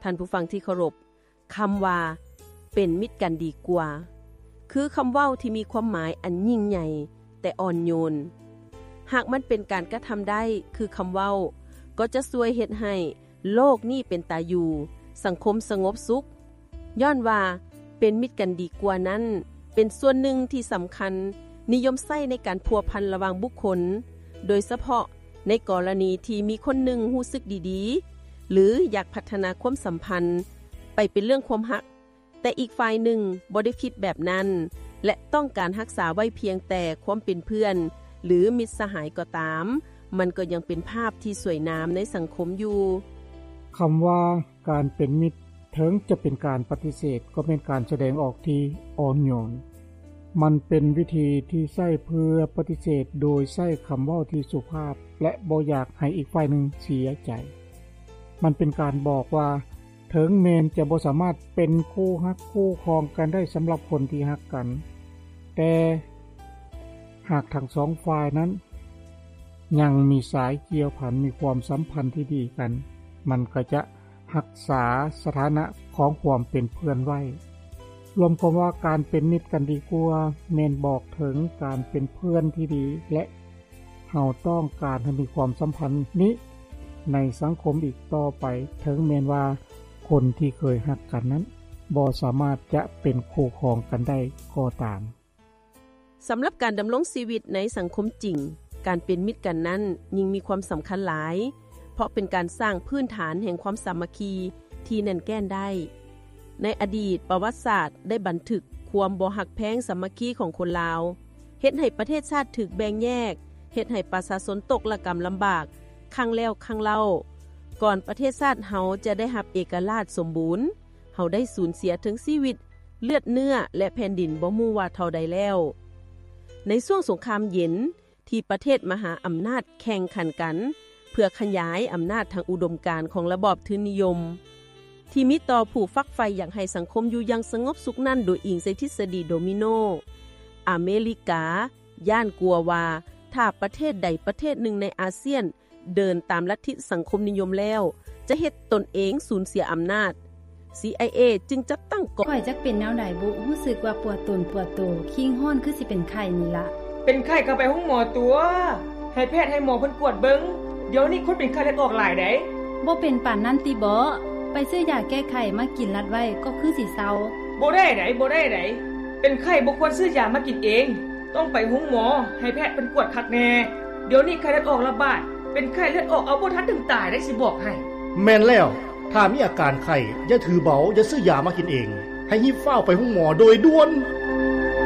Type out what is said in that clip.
ທ່ານຜູ້ຟັງທີ່ເຄົາລົບ, ຄຳວ່າ ເປັນມິດກັນດີກວ່າ ຄືຄຳເວົ້າທີ່ມີຄວາມໝາຍອັນຍິ່ງໃຫຍ່ ແຕ່ອ່ອນໂຍນ. ຫາກມັນເປັນການກະທຳໄດ້ຄືຄຳເວົ້າ, ກໍຈະຊ່ວຍເຮັດໃຫ້ໂລກນີ້ເປັນຕາຢູ່, ສັງຄົມສະຫງົບສຸກ. ຍ້ອນວ່າ ເປັນມິດກັນດີກວ່ານັ້ນ ເປັນສ່ວນໜຶ່ງທີ່ສຳຄັນ, ນິຍົມໃຊ້ໃນການພົວພັນລະຫວ່າງບຸກຄົນ, ໂດຍສະເພາະໃນກໍລະນີທີ່ມີຄົນໜຶ່ງຮູ້ສຶກດີໆ ຫຼື ຢາກພັດທະນາຄວາມສຳພັນໄປເປັນເລື່ອງຄວາມຮັກ, ແຕ່ອີກຝ່າຍໜຶ່ງບໍ່ໄດ້ຄິດແບບນັ້ນ ແລະ ຕ້ອງການຮັກສາໄວ້ພຽງແຕ່ຄວາມເປັນເພື່ອນ ຫຼື ມິດສະຫາຍກໍຕາມ, ມັນກໍຍັງເປັນພາບທີ່ສວຍງາມໃນສັງຄົມຢູ່. ຄຳວ່າ ການເປັນມິດ ເຖິງຈະເປັນການປະຕິເສດ ກໍແມ່ນການສະແດງອອກທີ່ອ່ອນໂຍນ. ມັນເປັນວິທີທີ່ໃຊ້ເພື່ອປະຕິເສດໂດຍໃຊ້ຄຳເວົ້າທີ່ສຸພາບ ແລະ ບໍ່ຢາກໃຫ້ອີກຝ່າຍໜຶ່ງເສຍໃຈ. ມັນເປັນການບອກວ່າ ເຖິງແມ່ນຈະບໍ່ສາມາດເປັນຄູ່ຮັກຄູ່ຄອງກັນໄດ້ສຳລັບຄົນທີ່ຮັກກັນ, ແຕ່ຫາກທັງສອງຝ່າຍນັ້ນຍັງມີສາຍກ່ຽວພັນ, ມີຄວາມສຳພັນທີ່ດີກັນ, ມັນກໍຈະ ຮັກສາສະຖານະຂອງຄວາມເປັນເພື່ອນໄວ້. ລວມຄວາມວ່າການເປັນມິດກັນດີກວ່າ ແມ່ນບອກເຖິງການເປັນເພື່ອນທີ່ດີ ແລະ ເຮົາຕ້ອງການໃຫ້ມີຄວາມສຳພັນນີ້ໃນສັງຄົມອີກຕໍ່ໄປ, ເຖິງແມ່ນວ່າຄົນທີ່ເຄີຍຮັກກັນນັ້ນ ບໍ່ສາມາດຈະເປັນຄູ່ຄອງກັນໄດ້ກໍຕາມ. ສຳລັບການດຳລົງຊີວິດໃນສັງຄົມຈິງ, ການເປັນມິດກັນນັ້ນຍິ່ງມີຄວາມສຳຄັນຫຼາຍ, ເພາະເປັນການສ້າງພື້ນຖານແຫ່ງຄວາມສາມັກຄີທີ່ແໜ້ນແກ່ນໄດ້. ໃນອະດີດ, ປະຫວັດສາດໄດ້ບັນທຶກຄວາມບໍ່ຮັກແພງສາມັກຄີຂອງຄົນລາວ, ເຮັດໃຫ້ປະເທດຊາດຖືກແບ່ງແຍກ, ເຮັດໃຫ້ປະຊາຊົນຕົກລະກຳລຳບາກຄັ້ງແລ້ວຄັ້ງເລົ່າ. ກ່ອນປະເທດຊາດເຮົາຈະໄດ້ຮັບເອກະລາດສົມບູນ, ເຮົາໄດ້ສູນເສຍເຖິງຊີວິດ, ເລືອດເນື້ອ ແລະ ແຜ່ນດິນບໍ່ຮູ້ວ່າເທົ່າໃດແລ້ວ. ໃນຊ່ວງສົງຄາມເຢັນ ທີ່ປະເທດມະຫາອຳນາດແຂ່ງຂັນກັນ ເພື່ອຂະຫຍາຍອຳນາດທາງອຸດົມການຂອງລະບອບທຶນນິຍົມ ທີ່ມີຕໍ່ຜູ້ຝັກໃຝ່ຢາກໃຫ້ສັງຄົມຢູ່ຢ່າງສະຫງົບສຸກນັ້ນ ໂດຍອີງໃສ່ທິດສະດີໂດມິໂນ. ອາເມລິກາຢ້ານກົວວ່າ ຖ້າປະເທດໃດປະເທດໜຶ່ງໃນອາຊຽນ ເດີນຕາມລັດທິສັງຄົມນິຍົມແລ້ວ ຈະເຮັດຕົນເອງສູນເສຍອຳນາດ. ຊີໄອເອ ຈຶ່ງຈັດຕັ້ງກອງ. ຂ້ອຍຈັກເປັນແນວໃດບຸ, ຮູ້ສຶກວ່າປວດຕົນປວດໂຕ, ຄີງຮ້ອນຄືຊິເປັນໄຂ້ນີ້ລະ. ເປັນໄຂ້ກໍໄປໂຮງໝໍຕົວະ, ໃຫ້ແພດໃຫ້ໝໍເພິ່ນກວດເບິ່ງ. ດຽວນີ້ຄົນເປັນໄຂ້ເລືອດອອກຫຼາຍໃດ໋. ບໍ່ເປັນປານນັ້ນຕິເບາະ? ໄປຊື້ຢາແກ້ໄຂ້ມາກິນລັດໄວ້ກໍຄືຊິເຊົາ. ບໍ່ໄດ້ໃດ໋, ບໍ່ໄດ້ໃດ໋. ເປັນໄຂ້ບໍ່ຄວນຊື້ຢາມາກິນເອງ. ຕ້ອງໄປໂຮງໝໍ, ໃຫ້ແພດເພິ່ນກວດຄັກແນ່. ດຽວນີ້ໄຂ້ເລືອດອອກລະບາດ, ເປັນໄຂ້ເລືອດອອກເອົາບໍ່ທັນເຖິງຕາຍໄດ໋ ຊິບອກໃຫ້. ແມ່ນແລ້ວ, ຖ້າມີອາການໄຂ້, ຢ່າຖືເບົາ, ຢ່າຊື້ຢາມາກິນເອງ, ໃຫ້ຮີບຟ້າວໄປໂຮງໝໍໂດຍດ່ວນ.